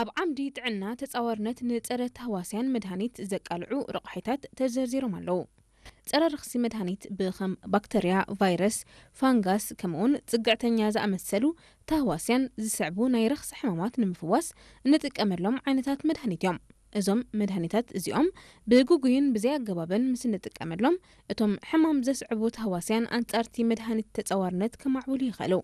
ኣብ ዓምዲ ጥዕና ተጻዋርነት ንጸረ ተህዋስያን መድሃኒት ዘቃልዑ ረቑሒታት ተዘርዚሮም ኣለዉ። ጸረ ረኽሲ መድሃኒት ብኸም ባክተርያ፣ ቫይረስ፣ ፋንጋስ ከምኡውን ጽግዕተኛ ዝኣመሰሉ ተህዋስያን ዝስዕቡ ናይ ረኽሲ ሕማማት ንምፍዋስ እንጥቀመሎም ዓይነታት መድሃኒት እዮም። እዞም መድሃኒታት እዚኦም ብግጉይን ብዘይ ኣገባብን ምስ እንጥቀመሎም እቶም ሕማም ዘስዕቡ ተህዋስያን ኣንጻርቲ መድሃኒት ተጻዋርነት ከማዕብሉ ይኽእሉ።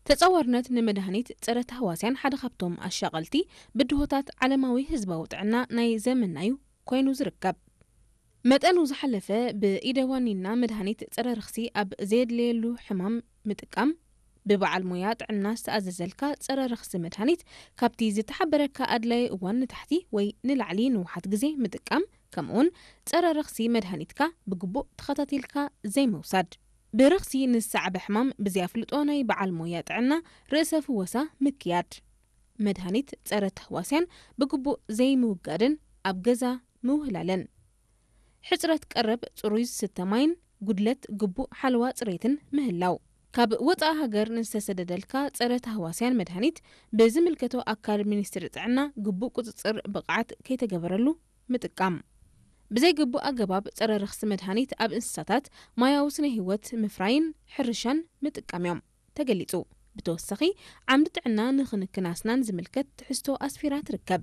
ተጻዋርነት ንመድሃኒት ጸረ ተህዋስያን ሓደ ካብቶም ኣሻቐልቲ ብድሆታት ዓለማዊ ህዝባዊ ጥዕና ናይ ዘመናዩ ኮይኑ ዝርከብ። መጠኑ ዝሓለፈ ብኢደ ዋኒና መድሃኒት ጸረ ረኽሲ ኣብ ዘየድለየሉ ሕማም ምጥቃም፣ ብበዓል ሞያ ጥዕና ዝተኣዘዘልካ ጸረ ረኽሲ መድሃኒት ካብቲ ዝተሓበረካ ኣድላዪ እዋን ንታሕቲ ወይ ንላዕሊ ንውሓት ግዜ ምጥቃም፣ ከምኡውን ጸረ ረኽሲ መድሃኒትካ ብግቡእ ተኸታቲልካ ዘይምውሳድ። ብረኽሲ ንዝሰዓበ ሕማም ብዘይ ኣፍልጦ ናይ በዓል ሞያ ጥዕና ርእሰ ፍወሳ ምክያድ። መድሃኒት ጸረ ተህዋስያን ብግቡእ ዘይምውጋድን ኣብ ገዛ ምውህላልን። ሕጽረት ቀረብ ጽሩይ ዝስተ ማይን ጉድለት ግቡእ ሓለዋ ጽሬትን ምህላው። ካብ ወጻኢ ሃገር ንዝተሰደደልካ ጸረ ተህዋስያን መድሃኒት ብዝምልከቶ ኣካል ሚኒስትሪ ጥዕና ግቡእ ቁጽጽር ብቕዓት ከይተገበረሉ ምጥቃም። ብዘይ ግቡእ ኣገባብ ጸረ ረኽሲ መድሃኒት ኣብ እንስሳታት ማያዊ ስነ ህይወት ምፍራይን ሕርሻን ምጥቃም እዮም ተገሊጹ። ብተወሳኺ ዓምዲ ጥዕና ንክንክን ኣስናን ዝምልከት ትሕዝቶ ኣስፊራ ትርከብ።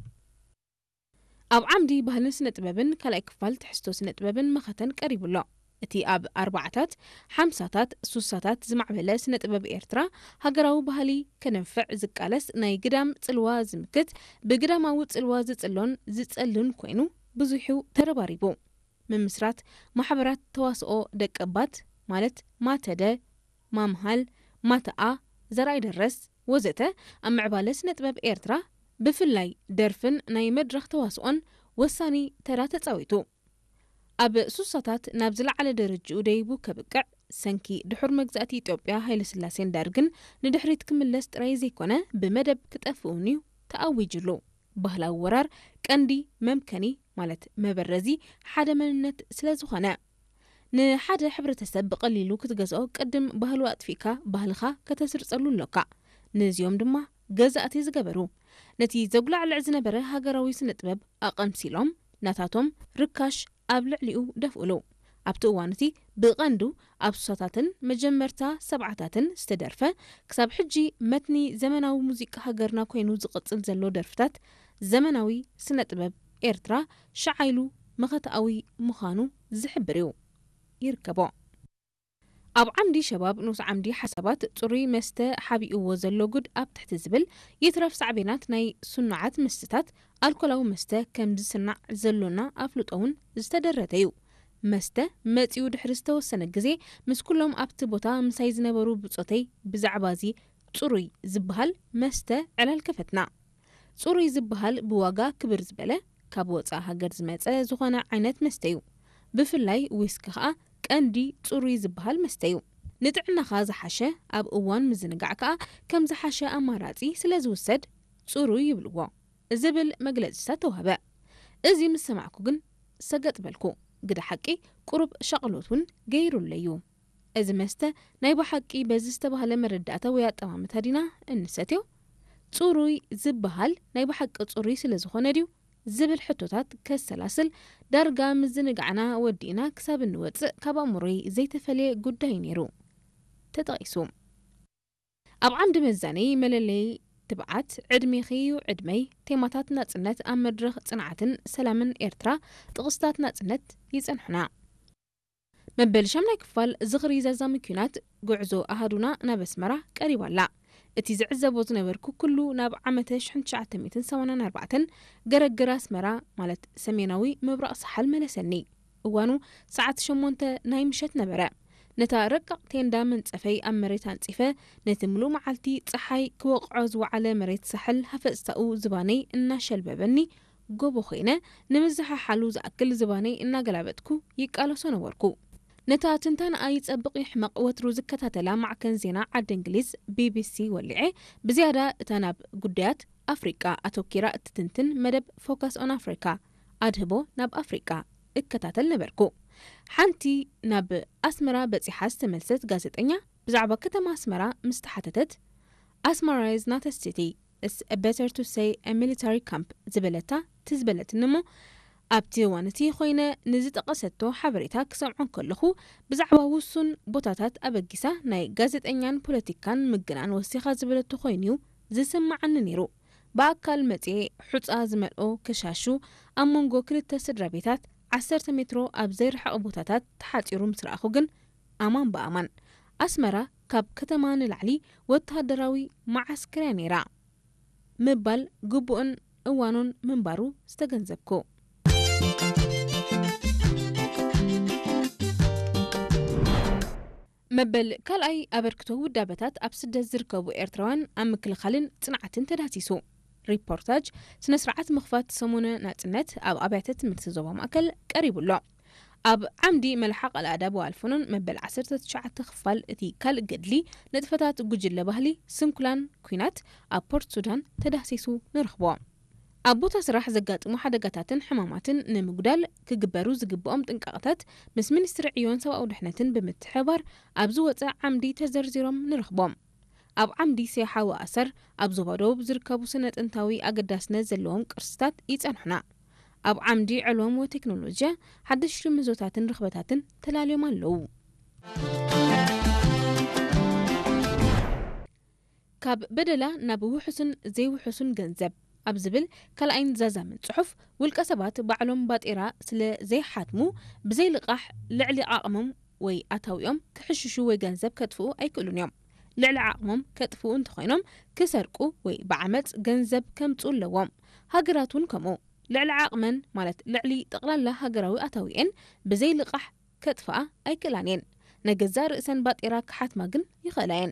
ኣብ ዓምዲ ባህልን ስነ ጥበብን ካልኣይ ክፋል ትሕዝቶ ስነ ጥበብን መኸተን ቀሪቡ ኣሎ። እቲ ኣብ ኣርባዓታት፣ ሓምሳታት፣ ሱሳታት ዝማዕበለ ስነ ጥበብ ኤርትራ ሃገራዊ ባህሊ ከነንፍዕ ዝቃለስ ናይ ግዳም ጽልዋ ዝምክት ብግዳማዊ ጽልዋ ዝጽሎን ዝጸልን ኮይኑ ብዙሑ ተረባሪቡ። ምምስራት ማሕበራት ተዋስኦ ደቀባት ማለት ማተደ፣ ማምሃል፣ ማተኣ፣ ዘርኣይ ደረስ ወዘተ ኣብ ምዕባለ ስነ ጥበብ ኤርትራ ብፍላይ ደርፍን ናይ መድረኽ ተዋስኦን ወሳኒ ተራ ተጻዊቱ። ኣብ ሱሳታት ናብ ዝለዓለ ደረጅኡ ደይቡ ከብቅዕ ሰንኪ ድሑር መግዛእቲ ኢትዮጵያ ሃይለስላሴን ደርግን ንድሕሪት ክምለስ ጥራይ ዘይኮነ ብመደብ ክጠፍእን እዩ ተኣዊጅሉ። ባህላዊ ወራር ቀንዲ መምከኒ ማለት መበረዚ ሓደ መንነት ስለ ዝኾነ ንሓደ ሕብረተሰብ ብቐሊሉ ክትገዝኦ ቅድም ባህሉ ኣጥፊእካ ባህልኻ ከተስርጸሉ ኣሎካ። ነዚኦም ድማ ገዛእቲ ዝገበሩ ነቲ ዘጉላዕልዕ ዝነበረ ሃገራዊ ስነ ጥበብ ኣቐምሲሎም ናታቶም ርካሽ ኣብ ልዕሊኡ ደፍኡሉ። ኣብቲ እዋን እቲ ብቐንዱ ኣብ ሱሳታትን መጀመርታ ሰብዓታትን ዝተደርፈ ክሳብ ሕጂ መትኒ ዘመናዊ ሙዚቃ ሃገርና ኮይኑ ዝቕጽል ዘሎ ደርፍታት ዘመናዊ ስነ ጥበብ ኤርትራ ሸዓ ኢሉ መኸተኣዊ ምዃኑ ዝሕብር እዩ። ይርከቦ። ኣብ ዓምዲ ሸባብ ንኡስ ዓምዲ ሓሳባት ጽሩይ መስተ ሓቢእዎ ዘሎ ጉድ ኣብ ትሕቲ ዝብል ይትረፍ ሳዕቤናት ናይ ስኑዓት መስተታት ኣልኮላዊ መስተ ከም ዝስናዕ ዘሎና ኣፍልጦ እውን ዝተደረተ እዩ። መስተ መጺኡ ድሕሪ ዝተወሰነ ግዜ ምስ ኩሎም ኣብቲ ቦታ ምሳይ ዝነበሩ ብጾተይ ብዛዕባ እዚ ጽሩይ ዝበሃል መስተ ዕላል ከፈትና። ጽሩይ ዝበሃል ብዋጋ ክብር ዝበለ ካብ ወጻኢ ሃገር ዝመጸ ዝኾነ ዓይነት መስተ እዩ። ብፍላይ ዊስኪ ከኣ ቀንዲ ጽሩይ ዝበሃል መስተ እዩ። ንጥዕናኻ ዝሓሸ ኣብ እዋን ምዝንጋዕ ከኣ ከም ዝሓሸ ኣማራጺ ስለ ዝውሰድ ጽሩይ ይብልዎ። ዝብል መግለጺታት ተዋህበ። እዚ ምስ ሰማዕኩ ግን ሰገጥ በልኩ። ግደ ሓቂ ቁሩብ ሻቕሎት እውን ገይሩለይ እዩ። እዚ መስተ ናይ ብሓቂ በዚ ዝተባህለ መረዳእታ ወይ ኣጠማምታ ዲና እንሰትዮ? ጽሩይ ዝበሃል ናይ ብሓቂ ጽሩይ ስለ ዝኾነ ድዩ? ዝብል ሕቶታት ከሰላስል ዳርጋ ምዝንጋዕና ወዲእና ክሳብ እንወጽእ ካብ ኣእምሮይ ዘይተፈልየ ጉዳይ ነይሩ ተጠቒሱ። ኣብ ዓምዲ መዛነዪ መለለዪ ትብዓት ዕድሜኺ እዩ ዕድመይ ቴማታት ናጽነት ኣብ መድረኽ ጽንዓትን ሰላምን ኤርትራ ጥቕስታት ናጽነት ይጸንሑና። መበል ሻምናይ ክፋል ዝኽሪ ዘዛሚ ኲናት ጉዕዞ ኣሃዱና ናብ ኣስመራ ቀሪባ ኣላ። እቲ ዝዕዘቦ ዝነበርኩ ኩሉ ናብ ዓመተ ሽሕን ትሽዓተ ሚእትን ሰማንያን ኣርባዕተን ገረግር ኣስመራ ማለት ሰሜናዊ ምብራቕ ሳሕል መለሰኒ። እዋኑ ሰዓት ሸሞንተ ናይ ምሸት ነበረ። ነታ ረቃቕ ቴንዳ መንጸፈይ ኣብ መሬት ኣንጺፈ ነቲ ምሉእ መዓልቲ ጸሓይ ክወቕዖ ዝወዓለ መሬት ሳሕል ሃፈጽታኡ ዝባነይ እናሸልበበኒ ጎቦ ኮይነ ንምዝሓሓሉ ዝኣክል ዝባነይ እናገላበጥኩ ይቃለሶ ነበርኩ። ነታ ትንታነኣ ይጸብቕ ይሕመቕ ወትሩ ዝከታተላ ማዕከን ዜና ዓዲ እንግሊዝ ቢቢሲ ወሊዐ ብዝያዳ እታ ናብ ጉዳያት ኣፍሪቃ ኣተኪራ እትትንትን መደብ ፎካስ ኦን ኣፍሪካ ኣድህቦ ናብ ኣፍሪቃ እከታተል ነበርኩ። ሓንቲ ናብ ኣስመራ በጺሓ ዝተመልሰት ጋዜጠኛ ብዛዕባ ከተማ ኣስመራ ምስ ተሓተተት ኣስመራ is not a city It's better to say a military camp ዝበለታ ትዝበለትኒ እሞ ኣብቲ እዋን እቲ ኮይነ ንዝጠቐሰቶ ሓበሬታ ክሰምዖ ከለኹ ብዛዕባ ውሱን ቦታታት ኣበጊሳ ናይ ጋዜጠኛን ፖለቲካን ምግናን ወሲኻ ዝበለቶ ኮይኑ እዩ ዝስማዓኒ ነይሩ። ብኣካል መጽኤ ሑጻ ዝመልኦ ከሻሹ ኣብ መንጎ ክልተ ስድራ ቤታት ዓሰርተ ሜትሮ ኣብ ዘይርሕቕ ቦታታት ተሓጺሩ ምስ ረኣኹ ግን ኣማን ብኣማን ኣስመራ ካብ ከተማ ንላዕሊ ወተሃደራዊ መዓስከር እያ ነይራ ምባል ግቡእን እዋኑን ምንባሩ ዝተገንዘብኩ። መበል ካልኣይ ኣበርክቶ ውዳበታት ኣብ ስደት ዝርከቡ ኤርትራውያን ኣብ ምክልኻልን ጽንዓትን ተዳህሲሱ። ሪፖርታጅ ስነ ስርዓት ምኽፋት ሰሙነ ናጽነት ኣብ ኣብያተ ትምህርቲ ዞባ ማእከል ቀሪቡ ኣሎ። ኣብ ዓምዲ መልሓቕ ኣልኣዳብ ወኣልፈኖን መበል ዓሰርተ ትሽዓተ ክፋል እቲ ካልእ ገድሊ ንጥፈታት ጉጅለ ባህሊ ስንኩላን ኲናት ኣብ ፖርት ሱዳን ተዳህሲሱ ንረኽቦ። ኣብ ቦታ ስራሕ ዘጋጥሙ ሓደጋታትን ሕማማትን ንምጉዳል ክግበሩ ዝግብኦም ጥንቃቐታት ምስ ሚኒስትሪ ዕዮን ሰብኣዊ ድሕነትን ብምትሕብባር ኣብ ዝወጸ ዓምዲ ተዘርዚሮም ንረኽቦም። ኣብ ዓምዲ ሴሓ ወኣሰር ኣብ ዞባ ደቡብ ዝርከቡ ስነ ጥንታዊ ኣገዳስነት ዘለዎም ቅርስታት ይጸንሑና። ኣብ ዓምዲ ዕልዎም ወቴክኖሎጂያ ሓደሽቲ ምህዞታትን ርኽበታትን ተላልዮም ኣለዉ። ካብ በደላ ናብ ውሑስን ዘይውሑስን ገንዘብ ኣብ ዝብል ካልኣይን ዛዛምን ጽሑፍ፣ ውልቀ ሰባት ባዕሎም ባጤራ ስለ ዘይሓትሙ፣ ብዘይ ልቓሕ ልዕሊ ዓቕሞም ወይ ኣታዊኦም ክሕሽሹ ወይ ገንዘብ ከጥፍኡ ኣይክእሉን እዮም። ልዕሊ ዓቕሞም ከጥፍኡ እንተኾይኖም፣ ክሰርቁ ወይ ብዓመጽ ገንዘብ ከምጽኡ ኣለዎም። ሃገራት እውን ከምኡ። ልዕሊ ዓቕመን፣ ማለት ልዕሊ ጠቕላላ ሃገራዊ ኣታዊኤን ብዘይ ልቓሕ ከጥፍኣ ኣይክእላን እየን። ንገዛእ ርእሰን ባጤራ ክሓትማ ግን ይኽእላ እየን።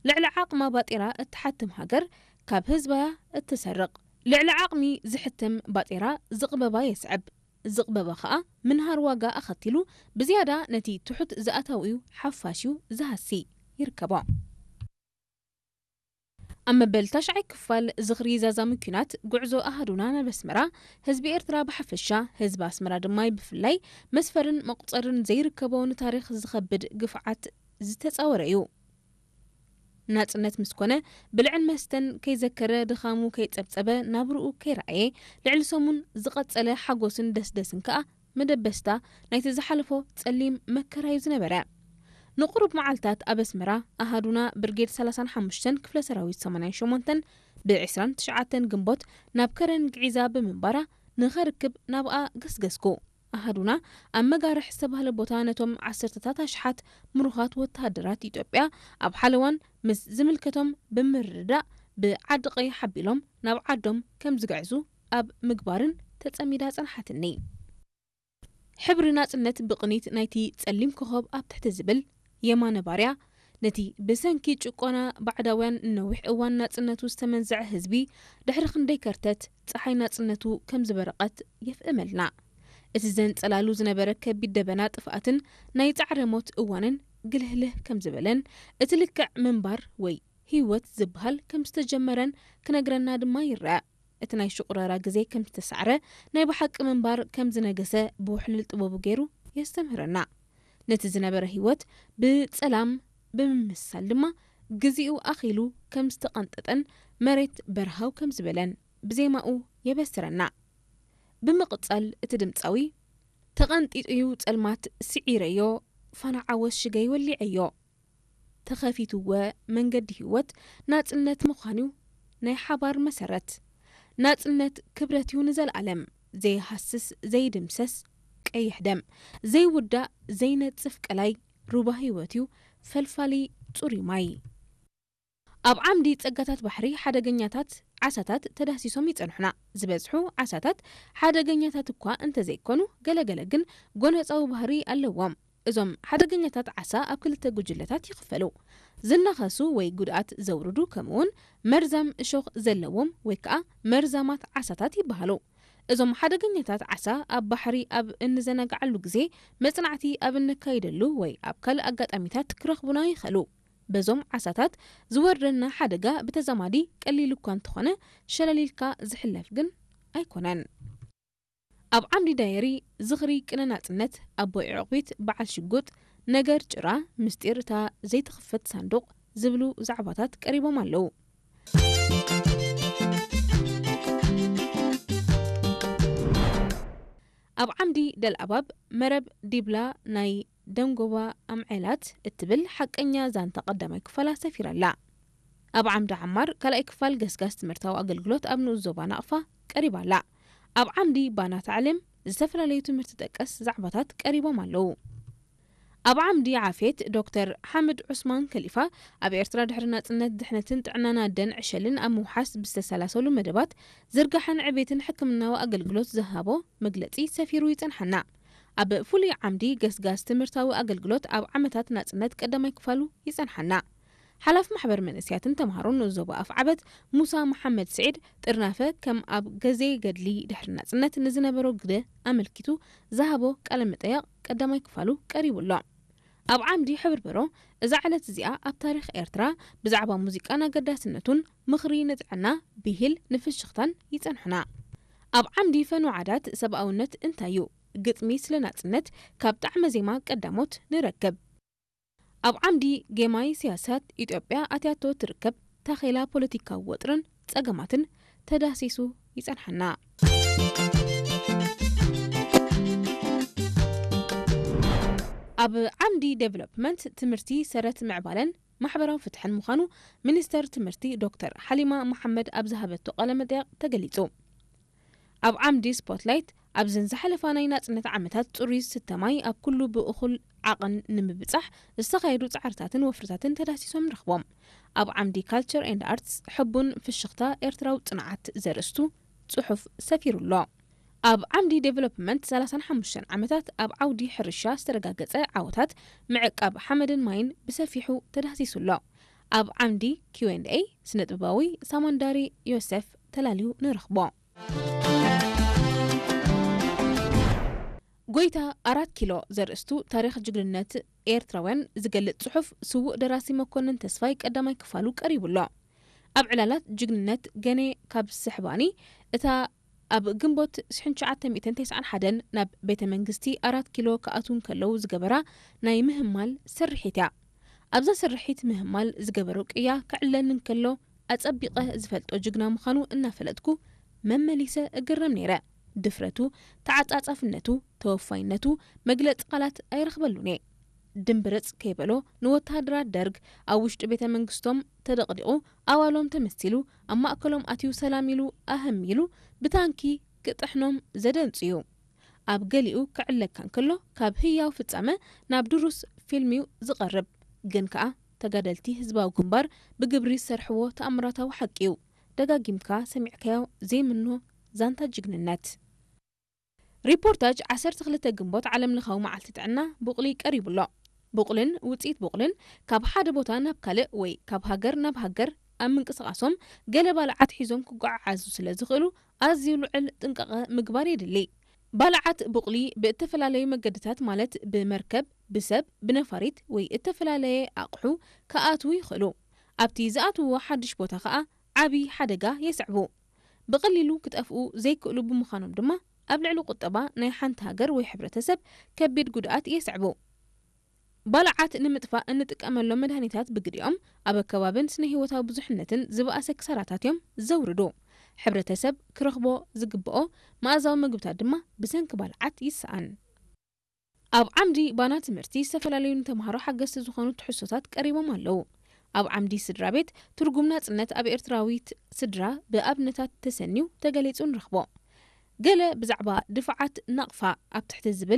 ልዕሊ ዓቕማ ባጤራ እትሓትም ሃገር ካብ ህዝባያ እትሰርቕ። ልዕሊ ዓቕሚ ዝሕተም ባጤራ ዝቕበባ የስዕብ። ዝቕበባ ኸኣ ምንሃር ዋጋ ኣኸቲሉ ብዝያዳ ነቲ ትሑት ዝኣታዊኡ ሓፋሽዩ ዝሃሲ ይርከቦ። ኣብ መበል ታሽዓይ ክፋል ዝኽሪ ዛዛሚ ኲናት ጉዕዞ ኣሃዱና ናብ ኣስመራ፣ ህዝቢ ኤርትራ ብሓፈሻ፣ ህዝቢ ኣስመራ ድማ ብፍላይ፣ መስፈርን መቑጸርን ዘይርከቦ ንታሪኽ ዝኸብድ ግፍዓት ዝተጻወረ እዩ። ናጽነት ምስ ኮነ፣ ብልዕን መስተን ከይዘከረ፣ ድኻሙ ከይጸብጸበ፣ ናብርኡ ከይረኣየ፣ ልዕሊ ሰሙን ዝቐጸለ ሓጎስን ደስደስን ከኣ መደበስታ ናይቲ ዝሓለፎ ጸሊም መከራዩ ዝነበረ። ንቑሩብ መዓልታት ኣብ ኣስመራ ኣሃዱና ብርጌድ ሰላሳን ሓሙሽተን ክፍለ ሰራዊት ሰማንያን ሸሞንተን ብ ዕስራን ትሽዓተን ግንቦት ናብ ከረን ግዒዛ ብምንባራ ንኸርክብ ናብኣ ገስገስኩ። ኣሃዱና ኣብ መጋርሕ ዝተባህለ ቦታ ነቶም ዓሰርተታት ኣሽሓት ምሩኻት ወተሃደራት ኢትዮጵያ ኣብ ሓለዋን ምስ ዝምልከቶም ብምርድዳእ ብዓዲ ቀይሕ ኣቢሎም ናብ ዓዶም ከም ዝግዕዙ ኣብ ምግባርን ተጸሚዳ ጸንሓትኒ። ሕብሪ ናጽነት ብቕኒት ናይቲ ጸሊም ኮኾብ ኣብ ትሕቲ ዝብል የማነ ባርያ፣ ነቲ ብሰንኪ ጭቆና ባዕዳውያን ንነዊሕ እዋን ናጽነቱ ዝተመንዘዐ ህዝቢ፣ ድሕሪ ክንደይ ከርተት ጸሓይ ናጽነቱ ከም ዝበረቐት የፍእመልና። እቲ ዘንጸላሉ ዝነበረ ከቢድ ደበና ጥፍኣትን ናይ ጻዕረ ሞት እዋንን ግልህልህ ከም ዝበለን፣ እቲ ልክዕ ምንባር ወይ ህይወት ዝበሃል ከም ዝተጀመረን ክነግረና ድማ ይረኣ። እቲ ናይ ሽቑረራ ግዜ ከም ዝተሳዕረ፣ ናይ ብሓቂ ምንባር ከም ዝነገሰ ብውሕሉል ጥበቡ ገይሩ የስተምህረና። ነቲ ዝነበረ ህይወት ብጸላም ብምምስሳል ድማ፣ ግዜኡ ኣኺሉ ከም ዝተቐንጠጠን መሬት በርሃው ከም ዝበለን ብዜማኡ የበስረና። ብምቕጻል እቲ ድምጻዊ፣ "ተቐንጢጡ'ዩ ጸልማት ስዒረዮ፣ ፋና ዓወት ሽገይ ወሊዐዮ። ተኸፊቱወ መንገዲ ህይወት፣ ናጽነት ምዃን'ዩ ናይ ሓባር መሰረት። ናጽነት ክብረት'ዩ ንዘለኣለም፣ ዘይሃስስ ዘይድምሰስ ቀይሕ ደም፣ ዘይውዳእ ዘይነጽፍ ቀላይ ሩባ ህይወት'ዩ፣ ፈልፋሊ ጽሩይ ማይ።" ኣብ ዓምዲ ጸጋታት ባሕሪ ሓደገኛታት ዓሳታት ተዳህሲሶም ይጸንሑና። ዝበዝሑ ዓሳታት ሓደገኛታት እኳ እንተዘይኮኑ፣ ገለገለ ግን ጎነጻዊ ባህሪ ኣለዎም። እዞም ሓደገኛታት ዓሳ ኣብ ክልተ ጉጅለታት ይኽፈሉ። ዝናኸሱ ወይ ጉድኣት ዘውርዱ፣ ከምኡውን መርዛም እሾኽ ዘለዎም ወይ ከኣ መርዛማት ዓሳታት ይበሃሉ። እዞም ሓደገኛታት ዓሳ ኣብ ባሕሪ ኣብ እንዘናግዓሉ ግዜ፣ መጽናዕቲ ኣብ እነካይደሉ ወይ ኣብ ካልእ ኣጋጣሚታት ክረኽቡና ይኽእሉ። በዞም ዓሳታት ዝወርደና ሓደጋ ብተዛማዲ ቀሊል እኳ እንተኾነ፣ ሸለል ኢልካ ዝሕለፍ ግን ኣይኮነን። ኣብ ዓምዲ ዳየሪ ዝኽሪ ቅነ ናጽነት፣ ኣቦይ ዕቑቢት በዓል ሽጉጥ፣ ነገር ጭራ፣ ምስጢር እታ ዘይትኽፈት ሳንዱቕ ዝብሉ ዛዕባታት ቀሪቦም ኣለዉ። ኣብ ዓምዲ ደልኣባብ መረብ ዲብላ ናይ ደንጎባ ኣምዔላት እትብል ሓቀኛ ዛንታ ቀዳማይ ክፋላ ሰፊራ ኣላ። ኣብ ዓምዲ ዓማር ካልኣይ ክፋል ገስጋስ ትምህርታዊ ኣገልግሎት ኣብ ንኡስ ዞባ ናቕፋ ቀሪባ ኣላ። ኣብ ዓምዲ ባና ታዕሊም ዝተፈላለዩ ትምህርቲ ጠቀስ ዛዕባታት ቀሪቦም ኣለዉ። ኣብ ዓምዲ ዓፌት ዶክተር ሓምድ ዑስማን ከሊፋ ኣብ ኤርትራ ድሕሪ ናጽነት ድሕነትን ጥዕናን ኣደን ዕሸልን ኣብ ምውሓስ ብዝተሰላሰሉ መደባት ዝርጋሐን ዕቤትን ሕክምናዊ ኣገልግሎት ዝሃቦ መግለጺ ሰፊሩ ይጸንሓና። ኣብ ፍሉይ ዓምዲ ገስጋስ ትምህርታዊ ኣገልግሎት ኣብ ዓመታት ናጽነት ቀዳማይ ክፋሉ ይጸንሓና። ሓላፍ ማሕበር መንእስያትን ተምሃሮን ንኡስ ዞባ ኣፍዓበት ሙሳ መሓመድ ስዒድ ጥርናፈ ከም ኣብ ገዜ ገድሊ ድሕሪ ናጽነት ንዝነበሮ ግደ ኣመልኪቱ ዝሃቦ ቃለ መጠየቕ ቀዳማይ ክፋሉ ቀሪቡ ኣሎ። ኣብ ዓምዲ ሕብርበሮ እዛ ዕለት እዚኣ ኣብ ታሪኽ ኤርትራ ብዛዕባ ሙዚቃን ኣገዳስነቱን ምኽሪ ንጥዕና ብሂል ንፍሽኽታን ይጸንሑና። ኣብ ዓምዲ ፈኑ ዓዳት ሰብኣውነት እንታይ እዩ? ግጥሚ ስለ ናጽነት ካብ ጣዕመ ዜማ ቀዳሞት ንረክብ። ኣብ ዓምዲ ጌማይ ስያሳት ኢትዮጵያ ኣትያቶ ትርከብ ታኼላ ፖለቲካዊ ወጥርን ጸገማትን ተዳሲሱ ይጸንሓና። ኣብ ዓምዲ ዴቨሎፕመንት ትምህርቲ ሰረት ምዕባለን ማሕበራዊ ፍትሕን ምዃኑ ሚኒስተር ትምህርቲ ዶክተር ሓሊማ መሓመድ ኣብ ዝሃበቶ ቃለ መጠየቕ ተገሊጹ። ኣብ ዓምዲ ስፖትላይት ኣብዘን ዝሓለፋ ናይ ናጽነት ዓመታት ጽሩይ ዝስተ ማይ ኣብ ኩሉ ብእኹል ዓቐን ንምብጻሕ ዝተኻየዱ ጻዕርታትን ወፍርታትን ተዳሲሶም ንረኽቦም። ኣብ ዓምዲ ካልቸር ኤንድ ኣርትስ ሕቡን ፍሽኽታ ኤርትራዊ ጽንዓት ዘርእስቱ ጽሑፍ ሰፊሩ ኣሎ። ኣብ ዓምዲ ዴቨሎፕመንት ሰላሳን ሓሙሽተን ዓመታት ኣብ ዓውዲ ሕርሻ ዝተረጋገጸ ዓወታት ምዕቃብ ሓመድን ማይን ብሰፊሑ ተዳሲሱ ኣሎ። ኣብ ዓምዲ ኪው ኤንድ ኤ ስነ ጥበባዊ ሳማንዳሪ ዮሴፍ ተላልዩ ንረኽቦ። ጎይታ ኣራት ኪሎ ዘርእስቱ ታሪኽ ጅግንነት ኤርትራውያን ዝገልጽ ጽሑፍ ስዉእ ደራሲ መኮንን ተስፋይ ቀዳማይ ክፋሉ ቀሪቡ ኣሎ። ኣብ ዕላላት ጅግንነት ገኔ ካብ ስሕባኒ እታ ኣብ ግንቦት ሽሕን ትሽዓተ ሚእትን ተስዓን ሓደን ናብ ቤተ መንግስቲ ኣራት ኪሎ ክኣትዉ እንከለዉ ዝገበራ ናይ ምህማል ስርሒት እያ። ኣብዛ ስርሒት ምህማል ዝገበሮ ቅያ ክዕለኒ እንከሎ ኣጸቢቐ ዝፈልጦ ጅግና ምዃኑ እናፈለጥኩ መመሊሰ እግረም ነይረ። ድፍረቱ፣ ተዓጻጻፍነቱ፣ ተወፋይነቱ መግለጺ ቃላት ኣይረኽበሉን እየ። ድምብርጽ ከይበሎ ንወተሃደራት ደርግ ኣብ ውሽጢ ቤተ መንግስቶም ተደቕዲቑ ኣባሎም ተመሲሉ ኣብ ማእከሎም ኣትዩ ሰላም ኢሉ ኣህም ኢሉ ብታንኪ ክጥሕኖም ዘደንጹ እዩ። ኣብ ገሊኡ ክዕለካ እንከሎ ካብ ህያው ፍጻመ ናብ ድሩስ ፊልም እዩ ዝቐርብ። ግን ከኣ ተጋደልቲ ህዝባዊ ግንባር ብግብሪ ዝሰርሕዎ ተኣምራታዊ ሓቂ እዩ። ደጋጊምካ ሰሚዕካዮ ዘይምኖ ዛንታ ጅግንነት። ሪፖርታጅ ዓሰርተ ክልተ ግንቦት ዓለም ለኻዊ መዓልቲ ጥዕና ቡቕሊ ቀሪቡ ኣሎ። ቡቕልን ውጽኢት ቡቕልን ካብ ሓደ ቦታ ናብ ካልእ ወይ ካብ ሃገር ናብ ሃገር ኣብ ምንቅስቓሶም ገለ ባልዓት ሒዞም ክጓዓዓዙ ስለ ዝኽእሉ ኣዝዩ ልዑል ጥንቃቐ ምግባር የድሊ። ባልዓት ቡቕሊ ብእተፈላለዩ መገድታት ማለት ብመርከብ፣ ብሰብ፣ ብነፋሪት ወይ እተፈላለየ ኣቕሑ ክኣትዉ ይኽእሉ። ኣብቲ ዝኣትውዎ ሓድሽ ቦታ ከኣ ዓቢ ሓደጋ የስዕቡ። ብቐሊሉ ክጠፍኡ ዘይክእሉ ብምዃኖም ድማ ኣብ ልዕሊ ቁጠባ ናይ ሓንቲ ሃገር ወይ ሕብረተሰብ ከቢድ ጉድኣት የስዕቡ። ባልዓት ንምጥፋእ እንጥቀመሎም መድሃኒታት ብግዲኦም ኣብ ኣከባብን ስነ ህይወታዊ ብዙሕነትን ዝበኣሰ ክሳራታት እዮም ዘውርዱ። ሕብረተሰብ ክረኽቦ ዝግብኦ መኣዛዊ ምግብታት ድማ ብሰንኪ ባልዓት ይሰኣን። ኣብ ዓምዲ ባና ትምህርቲ ዝተፈላለዩ ንተምሃሮ ሓገዝቲ ዝኾኑ ትሕዝቶታት ቀሪቦም ኣለዉ። ኣብ ዓምዲ ስድራ ቤት ትርጉም ናጽነት ኣብ ኤርትራዊት ስድራ ብኣብነታት ተሰንዩ ተገሊጹ ንረኽቦ። ገለ ብዛዕባ ድፋዓት ናቕፋ ኣብ ትሕቲ ዝብል